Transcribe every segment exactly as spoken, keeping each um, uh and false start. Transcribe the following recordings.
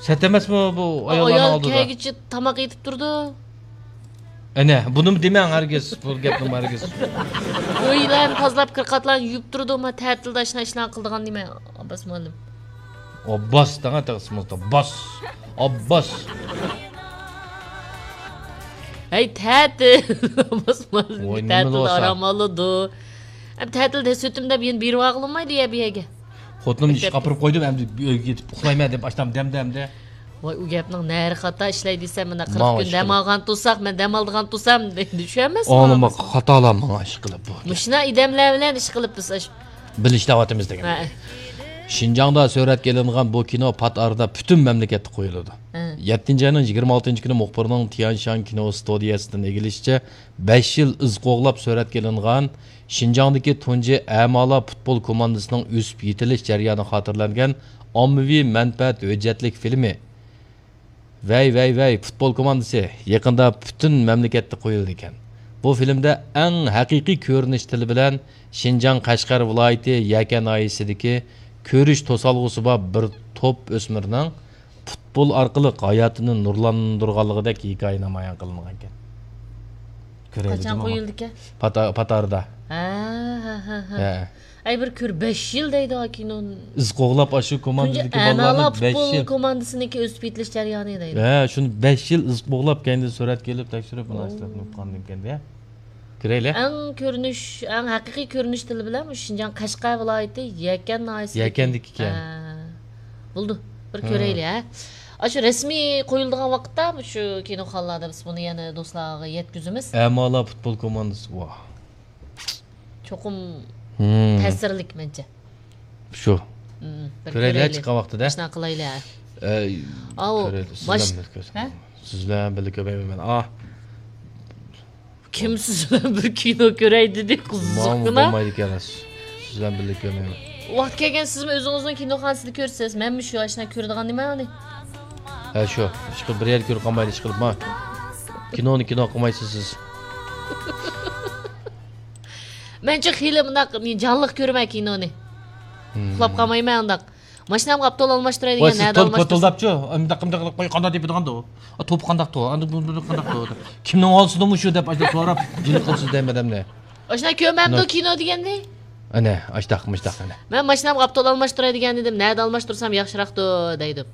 سەت ئەمەسمۇ بۇ ئاياللارنىڭ ئايال ئالدىدا؟ كەلگۈچە تاماق ئېتىپ تۇرىدۇ. ئەنە، بۇنىمۇ دېمەڭ ھەرگىز، بۇ گەپنىمۇ ھەرگىز. ئۆيلەرنى تازىلاپ، كىرقاتلارنى يۇيۇپ تۇرىدۇ، ما تەتىلدە ئاشۇنداق ئىشلارنى قىلىدىغان نېمە، ئابباس مۇئەللىم؟ ئابباس، دەڭە تېخى ئىسمىڭىزدا باس. ئابباس. ھەي، تەتىل. ئابباس مۇئەللىم ۋاي، نېمە تەتىلدە بولسا؟ ئارام ئالىدۇ. ئەم، تەتىلدە سۈتۈم دەپ يەنە بېرىۋالغىلىمايدۇ يە بۇ يەرگە. خوتۇنۇمنى ئىشقا ئاپىرىپ قويدۇم، ئەمدى ئۆيگە يېتىپ ئۇخلايمەن دەپ، ئاشتام دەمدە ئەمدى. ۋاي، ئۇ گەپنىڭ نەرى خاتا ئىشلەي دېسەم، مانا قىرىق ماڭا كۈن ئىش دەم قىلىپ. ئالغان تۇرساق، مەن دەم ئالىدىغان تۇرسام، دەپ چۈشەنمەسمۇ ئاڭلىما ئاڭلىسا. خاتالار ماڭا ئىش قىلىپ بۇ گەپ. مۇشۇنداق ئادەملەر بىلەن ئىش قىلىپ بىز ئاشۇ. بىلىشتە ئاۋاتىمىز دېگەن. ھە. شىنجاڭدا سۈرەتكە ئېلىنغان بۇ كىنو پات ئارىدا پۈتۈن مەملىكەتتە قويۇلىدۇ. ھە. يەتتىنچى ئاينىڭ يىگىرمە ئالتىنچى كۈنى مۇخبىرنىڭ تيەنشان كىنو ستۇدىيەسىدىن ئىگىلىشىچە، بەش يىل ئىز قوغلاپ سۈرەتكە ئېلىنغان شىنجاڭدىكى تۇنجى ئەمالار پۇتبول كوماندىسىنىڭ ئۆسۈپ يېتىلىش جەريانى خاتىرىلەنگەن ئاممىۋى مەنپەئەت ھۆججەتلىك فىلىمى ۋەي، ۋەي، ۋەي، پۇتبول كوماندىسى يېقىندا پۈتۈن مەملىكەتتە قويۇلىدىكەن. بۇ فىلىمدە ئەڭ ھەقىقىي كۆرۈنۈش تىلى بىلەن شىنجاڭ قەشقەر ۋىلايىتى يەكەن ناھىيەسىدىكى كۆرۈش توسالغۇسى بار بىر توپ ئۆسمۈرنىڭ پۇتبول ئارقىلىق ھاياتىنى نۇرلاندۇرغانلىقىدەك ھېكايە نامايان قىلىنغانىكەن. كۆرەيلى قاچان جۇمۇ. قويۇلدىكەن؟ پاتا-، پاتاردا. ھە، ھە، ھە، ھە. ھە. ئەي، بىر كۆر، بەش يىل دەيدۇ، ھا، كىنو. ئىز قوغلاپ، ئاشۇ تۇنجى كوماندىدىكى ئەمەلە بالىلارنى بەش پۇتبول يىل. كوماندىسىنىڭكى ئۆسۈپ يېتىلىش جەريانى دەيدۇ. ھە، شۇنى بەش يىل ئىز قوغلاپ، كەينىدىن سۈرەتكە ئېلىپ، تەكشۈرۈپ، مۇناسىۋەتنى ئۇققاندىن كېيىن، ھە. كۆرەيلى. ئەڭ كۆرۈنۈش، ئەڭ ھەقىقىي كۆرۈنۈش تىلى بىلەن مۇشۇ شىنجاڭ قەشقەر ۋىلايىتى يەكەن ناھىيەسىدىكى. يەكەندىكىكەن. ھە. بولدى، بىر ھە. كۆرەيلى، ھە. ئاشۇ رەسمىي قويۇلىدىغان ۋاقىتتا مۇشۇ كىنوخانىلاردا بىز بۇنى يەنە دوستلارغا يەتكۈزىمىز. ئەمالار پۇتبول كوماندىسى، ۋاھ. چوقۇم ھىم. تەسىرلىك مەنچە. شۇ. ھىم، بىر كۆرەيلى، كۆرەيلى. چىققان ۋاقتىدا. شۇنداق قىلايلى، ھە. ئەي، ئاۋۇ، كۆرەيلى. سىز ماش-، بىلەن بىللە كۆرسەم. ھە؟ سىز بىلەن بىللە كۆرمەيمەن مەن. ئاھ. كىم سىز بىلەن بىر كىنو كۆرەي دېدى، ماڭا قىزىققىنا. بولمايدىكەن، سىز بىلەن بىللە كۆرمەيمەن. ۋاقىت كەلگەن سىزمۇ ئۆزىڭىزنىڭ كىنوخانىسىدا كۆرىسىز. مەنمۇ شۇ ئاشۇنداق كۆرىدىغان نېمە ئۇنى؟ ھە، شۇ. ئىشقىلىپ بىر يەردە كۆرۈپ قالمايلى، ئىشقىلىپ ما. كىنونى كىنو قىلمايسىز سىز. مەنچۇ خېلى مۇنداق جانلىق كۆرىمەن كىنونى. ھىم. ئۇخلاپ قالمايمەن ئۇنداق. ماشىنامغا ئاپتول ئالماشتۇراي دېگەن، ۋاي، سىز نەدە تول-، ئالماشتۇرسام؟ توتۇلداپچۇ؟ ئۇنداق، ئۇنداق قىلىپ قوي، قانداق دېيىپىدىغاندۇ؟ ئا، توپى قانداقتۇ؟ ئاندىن بۇ، بۇ قانداقتۇ؟ كىمنىڭ ئالسىدىمۇ شۇ دەپ ئاشۇنداق سوراپ، جىلىق قىلىسىز دەيمەن ئادەمنى. ئاشۇنداق كۆرمەمدۇ كىنو دېگەننى؟ ئەنە، ئاشتاق، مۇشتاق ئەنە. مەن ماشىنامغا ئاپتول ئالماشتۇراي دېگەن ئىدىم، نەدە ئالماشتۇرسام ياخشىراقتۇ دەيدۇ.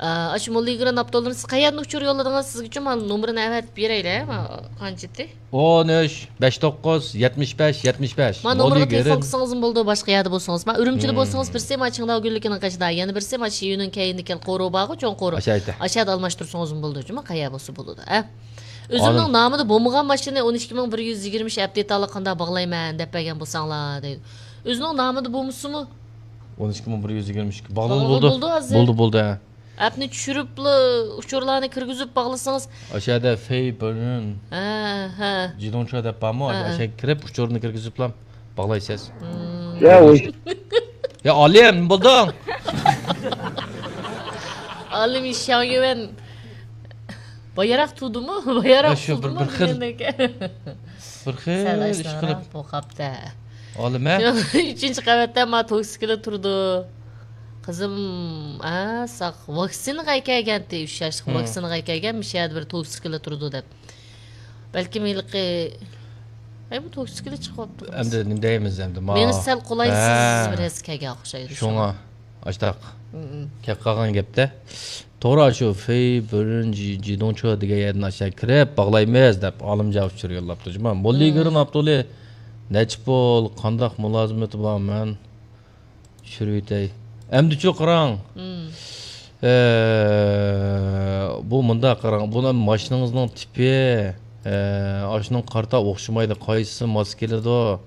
ئا، ئاشۇ موللىگران ئاپتولدىن سىز قەيەردىن ئۇچۇر يوللىدىڭىز؟ سىزگىچۇ مانا نومۇرىنى ئەۋەتىپ بېرەيلى، ھە، ما، قانچىتى؟ ئون ئۈچ، بەش توققۇز، يەتمىش بەش، يەتمىش بەش. ما نومۇرغا تېلېفون قىلسىڭىزمۇ بولىدۇ، باشقا يەردە بولسىڭىز. ما ئۈرۈمچىدە بولسىڭىز، بىرسى ما چىڭداۋ گۈللۈكىنىڭ قېشىدا، يەنە بىرسى ما شىيۈنىڭ كەينىدىكى قورۇ بارغۇ، چوڭ قورۇ. ئاشۇ يەردە. ئاشۇ يەردە ئالماشتۇرسىڭىزمۇ بولىدۇ، جۇما قەيەر بولسا بولىدۇ، ھە؟ ئۆزۈمنىڭ نامىدا بولمىغان ماشىنىنى ئون ئىككى مىڭ بىر يۈز يىگىرمە ئۈچ ئەپدېتالىق قانداق باغلايمەن دەپ بەرگەن بولساڭلار دەيدۇ. ئۆزىنىڭ نامىدا بولمىسىمۇ؟ ئون ئىككى مىڭ بىر يۈز يىگىرمە ئۈچ. باغلىنىپ باغلىنىپ بولدى. بولدى ھازىر. بولدى، بولدى، ھە. ئەپنى چۈشۈرۈپلا، ئۇچۇرلارنى كىرگۈزۈپ باغلىسىڭىز. ئاشۇ يەردە فېي بېرن. ھە، ھە. جىدۇڭچۇ دەپ بارمۇ؟ ھە، ھە. ئاشۇ يەرگە كىرىپ، ئۇچۇرنى كىرگۈزۈپلا باغلايسىز. مم. يا، ئۇ يا، ئالىم، بولدۇڭ. ئالىم شياڭيۈەن. بايراق تۇدىمۇ؟ بايراق يا، شۇ بىر، تۇدىمۇ بىر خىل. دېگەندەك. بىر خىل سەل ئىش ئاشۇنداقراق قىلىپ. بولۇپ قاپتۇ. ئالىمە. ئۈچىنچى قەۋەتتە ما توكسىكلا تۇرىدۇ. قىزىم، ئا، ساق، ۋاكسىنىغا كەلگەنتى، ئۈچ ياشلىق ھىم. ۋاكسىنىغا كەلگەن، مۇشۇ يەردە بىر توكسىكلا تۇرىدۇ دەپ. بەلكىم ھېلىقى، ئەي، بۇ توكسىكلا چىقىۋاپتۇ. ئەمدى نېمە دەيمىز ئەمدى، ما-، مېڭىسى سەل قولايسىز ھە. بىر ھەس كەلگەن ئوخشايدۇ شۇڭا. شۇڭا. ئاشتاق. مم. كەپ قالغان گەپتە. توغرا، شۇ فېي بېرن جى-، جىدۇڭچۇ دېگەن يەردىن ئاشۇ كىرىپ باغلايمىز دەپ ئالىمجان ئۇچۇر يوللاپتۇ جۇما. موللىگرىن مم. ئاپتولى نەچچە پۇل، قانداق مۇلازىمىتى بار، مەن چۈشۈرۈۋېتەي. ئەمدىچۇ قاراڭ. مم. ئە، بۇ مۇنداق قاراڭ. بۇ ماشىنىڭىزنىڭ تىپى، ئە، ئاشۇنىڭ قارىتا ئوخشىمايدۇ. قايسىسى ماس كېلىدۇ؟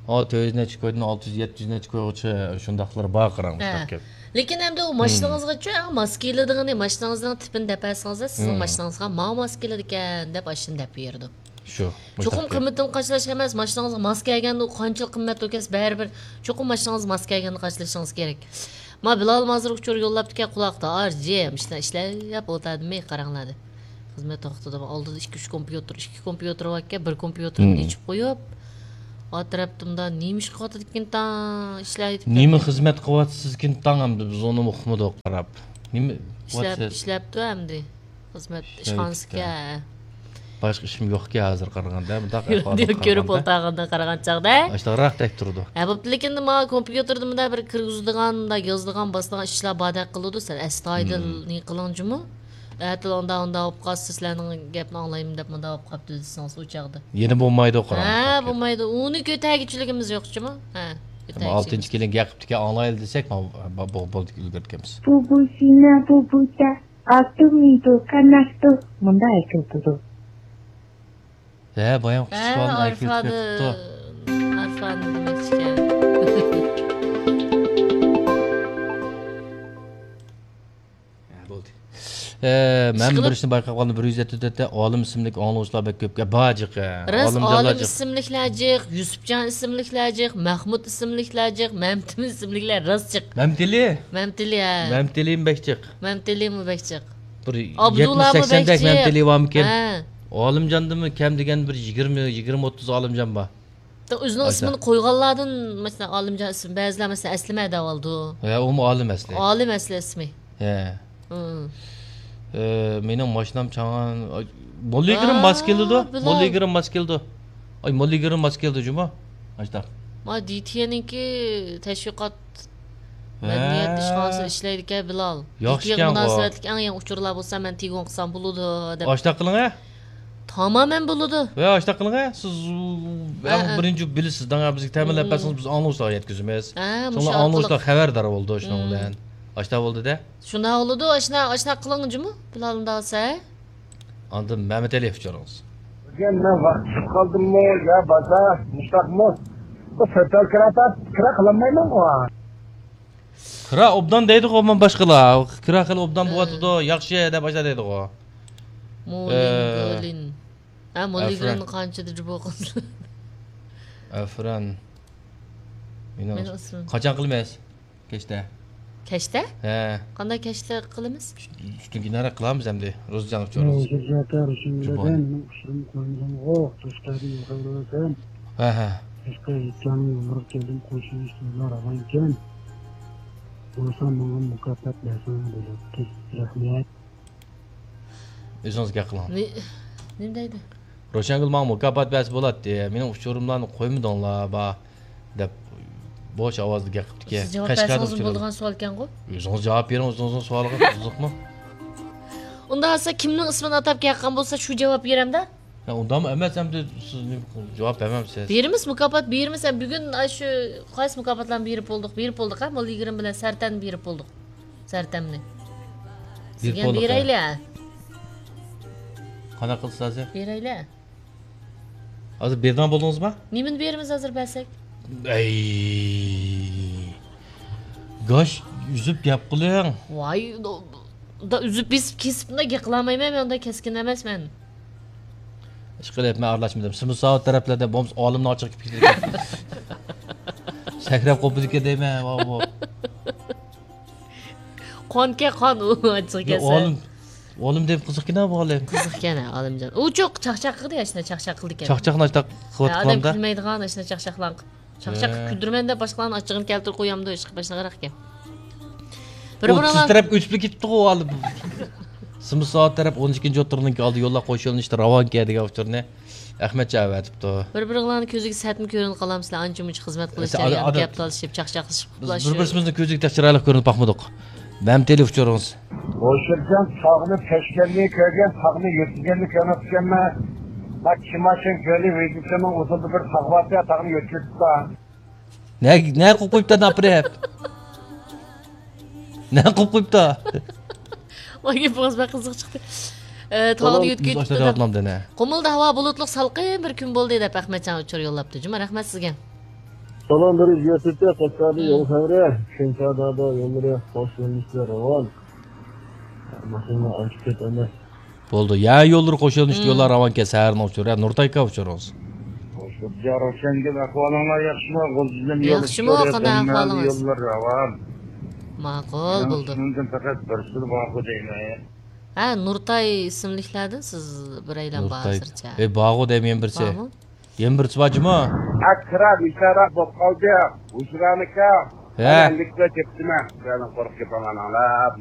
ئا، تۆت يۈز نەچچە كويدىن ئالتە يۈز، يەتتە يۈز نەچچە كويغىچە شۇنداقلىرى بار، قاراڭ، ھە. مۇشۇنداق گەپ. لېكىن ئەمدى ئۇ مم. ماشىنىڭىزغىچۇ ئەڭ ماس كېلىدىغىنى، ماشىنىڭىزنىڭ تىپىنى دەپ بەرسىڭىزلا، سىزنىڭ مم. ماشىنىڭىزغا ماۋۇ ماس كېلىدىكەن دەپ ئاشۇنى دەپ بېرىدۇ. شۇ، چوقۇم مۇشۇنداق گەپ. قىممىتىنى قاچىلاش ئەمەس، ماشىنىڭىزغا ماس كەلگەندە ئۇ قانچىلىك قىممەت بولكەس بەرىبىر، چوقۇم ماشىنىڭىزغا ماس كەلگەندە قاچىلىشىڭىز كېرەك. ما بىلال ھازىر ئۇچۇر يوللاپتىكەن، قۇلاقتا ئار جىم، ئىشلەپ ئولتۇردىمۇ، قاراڭلار دەپ. خىزمەت توختىدىمۇ، ئالدىدا ئىككى، ئۈچ كومپيۇتېر، ئىككى كومپيۇتېر باركەن، بىر كومپيۇتېرنى مم. ئېچىپ قويۇپ، ئاتراپتىمدا نېمە ئىش قىلىۋاتىدىكىن تاڭ، ئىشلەۋېتىپ نېمە كەتتى. خىزمەت قىلىۋاتىسىزكىن تاڭ، ئەمدى بىز ئۇنىمۇ ئۇقمىدۇق قاراپ. نېمە؟ ئىشلەپ، ئىشلەپتۇ ئەمدى. خىزمەت ئىشخانىسىكەن. باشقا ئىشىم يوقكەن ھازىر قارىغاندا، مۇنداق ئەھۋالدىن كۆرۈپ قارىغاندا. ئولتۇرغاندا قارىغان چاغدا. ئاشتاقراق دەپ تۇرىدۇ. ھە، بوپتۇ، لېكىن مانا كومپيۇتېردا مۇنداق بىر كىرگۈزىدىغان، مۇنداق يازىدىغان، باسىدىغان ئىشلار باردەك قىلىدۇ، سەن ئەستايىدىل نېمە قىلىڭ جۇمۇ. ئەتىلا ئۇنداق، ئۇنداق بولۇپ قالسا، سىلەرنىڭ گەپنى ئاڭلايمەن دەپ مۇنداق بولۇپ قاپتۇ دېسىڭىز ئۇ چاغدا. يەنە بولمايدۇ، قاراڭ. ھە، بولمايدۇ. ئۇنى كۆتەرگۈچىلىكىمىز يوق جۇمۇ. ھە، ئالتىنچى كېلىن گەپ قىپتىكەن، ئاڭلايلى دېسەك، بولدى، ئۈلگۈرتكەنمىز. بۇ، بۇ شىنا، بۇ بۇچا، ئاتۇ مىدۇ، قاناقتۇ، مۇنداق ئېيتىلىدۇ. ھە، بايام قىچىق بالىنى ئەكېلىپ كەپتۇ. ئارفانى دېمەكچىكەن. ھە، بولدى. ئە، مەن بىر ئىشنى بايقاپ قالدىم، بىر يۈز يەتتە تۆتتە ئالىم ئىسىملىك ئاڭلىغۇچىلار بەك كۆپ. بار جىق، ھە. راست، ئالىمجانلار ئالىم جىق. ئىسىملىكلەر جىق، يۈسۈپجان ئىسىملىكلەر جىق، مەھمۇد ئىسىملىكلەر جىق، مەمتىم ئىسىملىكلەر راست جىق. مەمتىلى؟ مەمتىلى، ھە. مەمتىلىمۇ بەك جىق. مەمتىلىمۇ بەك جىق. بىر ئابدۇللامۇ يەتمىش سەكسەندەك بەك جىق. مەمتىلى بارمىكىن؟ ھە. ئالىمجاندىنمۇ كەم دېگەن بىر يىگىرمە، يىگىرمە ئوتتۇز ئالىمجان بار. ئۆزىنىڭ ئىسمىنى قويغانلاردىن، مەسىلەن، ئالىمجان ئىسمى، بەزىلەر، مەسىلەن، ئەسلىمە دەۋالىدۇ. ھە، ئۇمۇ ئالىم ئەسلى. ئالىم ئەسلى ئىسمى. ھە. ئە، مېنىڭ ماشىنام چاڭغان. موللىگىرىم ماس كېلىدۇ. موللىگىرىم ماس كېلىدۇ. ئاي، موللىگىرىم ماس كېلىدۇ جۇمۇ. ئاشتاق. ما دىتىيەنىڭكى تەشۋىقات مەدەنىيەت ئىشخانىسىدا ئىشلەيدىكەن بىلال. ياخشىكەن. مۇناسىۋەتلىك ئەڭ يېڭى ئۇچۇرلار بولسا مەن تېگىۋالسام بولىدۇ دەپ. ئاشتاق قىلىڭ ھە. تامامەن بولىدۇ. ۋە ئاشتاق قىلىڭ ھە، سىز ئەڭ بىرىنچى بىلىسىز، داڭا بىزگە تەمىنلەپ بەرسىڭىز، بىز ئاڭلىغۇچىلارغا يەتكۈزىمىز. شۇڭا ئاڭلىغۇچىلار خەۋەردار بولىدۇ شۇنىڭ بىلەن. ئاشتاق بولدى-دە. شۇنداق بولىدۇ، ئاشۇنداق، ئاشۇنداق قىلىڭ جۇمۇ، بىلال ئۇنداق بولسا. ئاندىن مەمتىلى ئۇچۇرىڭىز. بۈگۈن مەن ۋاقىت چىقىپ قالدىممۇ يا بازار، مۇشتاقمۇ؟ بۇ سۆتەل كىرا تاپ، كىرا قىلالمايمەنغۇ. كىرا ئوبدان دەيدىغۇ، مانا باشقىلار. كىرا خېلى ئوبدان بولۇۋاتىدۇ، ياخشى دەپ ئاشۇنداق دەيدىغۇ. مولىگرىن. ھە، مولىگرىن قانچىدا جۇبو قىلسا؟ ئەفران. مېنىڭ ئىسمىم. قاچان قىلىمىز؟ كەچتە. كەچتە؟ ھە. قانداق كەچتە قىلىمىز؟ چۈشتىن كېيىن قىلارمىز ئەمدى. روزىجان ئۇچۇرىمىز. روزىجان ئاكا، روشەن بىلەن مېنىڭ ئۇچۇرۇم قويمىغانغۇ، دوستلاردىن يوقاۋېرىۋاتىمەن. ھە، ھە. باشقا ھېيتلارنىڭ يوللىرىغا كەلدىم، قوشۇلۇش تويلار راۋانكەن. بولسا ماڭا مۇكاپات بەرسەڭلار بولاتتى. رەھمەت. ئۆزىڭىز گەپ قىلىڭ. نېمە دەيدۇ؟ روشەنگۈل ماڭا مۇكاپات بەرسە بولاتتى. مېنىڭ ئۇچۇرۇملارنى قويمىدىڭلار، با، دەپ بوش ئاۋازدا گەپ قىپتىكەن. سىز جاۋاب بەرسىڭىزمۇ بولىدىغان سوئالكەنغۇ؟ ئۆزىڭىز جاۋاب بېرىڭ، ئۆزىڭىزنىڭ سوئالىغا قىزىقمۇ؟ ئۇنداق بولسا كىمنىڭ ئىسمىنى ئاتاپ گەپ قىلغان بولسا شۇ جاۋاب بېرەمدە؟ ھە، ئۇنداقمۇ ئەمەس، ئەمدى سىز نېمە جاۋاب بەرمەمسىز؟ بېرىمىز، مۇكاپات بېرىمىز. ھە، بۈگۈن ئاشۇ قايسى مۇكاپاتلارنى بېرىپ بولدۇق؟ بېرىپ بولدۇق، ھە، موللا يىگىرمە بىلەن سەرتەننى بېرىپ بولدۇق. سەرتەمنى. سىزگە بېرەيلى. قانداق قىلىسىز ھازىر؟ بېرەيلى. ھازىر بېرىدىغان بولدىڭىزمۇ؟ نېمىنى بېرىمىز ھازىر بەرسەك؟ ئەي. گاش ئۈزۈپ گەپ قىلىڭ. ۋاي، دا ئۈزۈپ بېسىپ كېسىپ مۇنداق گەپ قىلالمايمەن، مەن ئۇنداق كەسكىن ئەمەسمەن. ئىشقىلىپ مەن ئارىلاشمىدىم. سىمساۋۇت تەرەپلەردە بولمىسا ئالىمنىڭ ئاچچىقى كېلىپ كېتىدىكەن. سەكرەپ قوپىدىكەن دەيمەن، ۋاۋ. قانكەن قان ئۇ ئاچچىق كەلسە. ئالىم، ئالىم دەپ قىزىقكىنا بۇ ئالىم. قىزىقكەن ھە، ئالىمجان. ئۇ چوق چاقچاق قىلدى، ئاشۇنداق چاقچاق قىلىدىكەن. چاقچاقنى ئاشۇنداق قىلىۋاتقاندا. ئادەم كۈلمەيدىغان ئاشۇنداق چاقچاقلارنى قىلىپ. چاقچاق قىلىپ كۈلدۈرىمەن دەپ باشقىلارنىڭ ئاچچىقىنى كەلتۈرۈپ قويامدۇ، ئىشقىلىپ ئاشۇنداقراق ئىكەن. بىر بىرىڭلار تەرەپ ئۆتۈپ كېتىپتىغۇ ئۇ ھالدا. سىمساۋۇت تەرەپ ئون ئىككىنچى ئوتتۇرىنىڭكى ئالدى يوللار قوش يۆنىلىشتە راۋانكەن دېگەن ئۇچۇرنى ئەخمەتجان ئەۋەتىپتۇ. بىر بىرىڭلارنىڭ كۆزىگە سەتمۇ كۆرۈنۈپ قالامسىلەر، ئانچە مۇنچە خىزمەت قىلىش جەريانىدا گەپ تالىشىپ، چاقچاقلىشىپ. بىز بىر بىرىمىزنىڭ كۆزىگە تەك چىرايلىق كۆرۈنۈپ باقمىدۇق. مەمتىلى ئۇچۇرىڭىز. ھوشۇرجان تاغنى تەشكەننى كۆرگەن، تاغنى يۆتكىگەننى كۆرمەپتىكەنمەن. ما كىماشىن كۆلى ۋىدىسىنىڭ ئۇزۇندا بىر تاغ بارتى، تاغنى يۆتكىدى. نە، نە قىلىپ قويۇپتۇ ئاپىرىپ؟ نە قىلىپ قويۇپتۇ؟ ۋاي گېپىڭىز بەك قىزىق چىقتى. ئە، تاغنى يۆتكىدى. قۇمۇلدا ھاۋا بۇلۇتلۇق سالقىن بىر كۈن بولدى دەپ ئەخمەتجان ئۇچۇر يوللاپتۇ. جۇمۇ، رەھمەت سىزگە. سالام بېرىش يەتتە قەشقەرنىڭ يول خەۋىرى، شېنچا دادا يوللىرى قوش يۆنىلىشتە راۋان. ماشىنا ئانچە كۆپ ئەمەس. بولدى. يا يوللىرى قوش يۆنىلىشتە يوللار راۋانكەن، سەھەرنىڭ ئۇچۇرى. ھە، نۇرتاي ئاكا ئۇچۇرىڭىز. يا روشەنگۈل، ئەھۋالىڭلار ياخشىمۇ؟ غۇلجىدىن يول ياخشىمۇ، قانداق ئەھۋالىڭىز؟ يوللار راۋان. ماقۇل بولدى. شۇنىڭدىن پەقەت بىرسىلا بارغۇ دەيمەن. ھە، نۇرتاي ئىسىملىكلەردىن سىز بىرەيلەن بار ھازىرچە. ئەي، بارغۇ دەيمەن يەنە بىرسى. بارمۇ؟ يەنە بىرسى بار جۇمۇ. ئەكرەم بىچارە بولۇپ قالدى. ھۇجرانىكا. ھە. ئەمدى كېتىپتىمەن. سىلەرنىڭ قورقۇپ كېتىڭلار.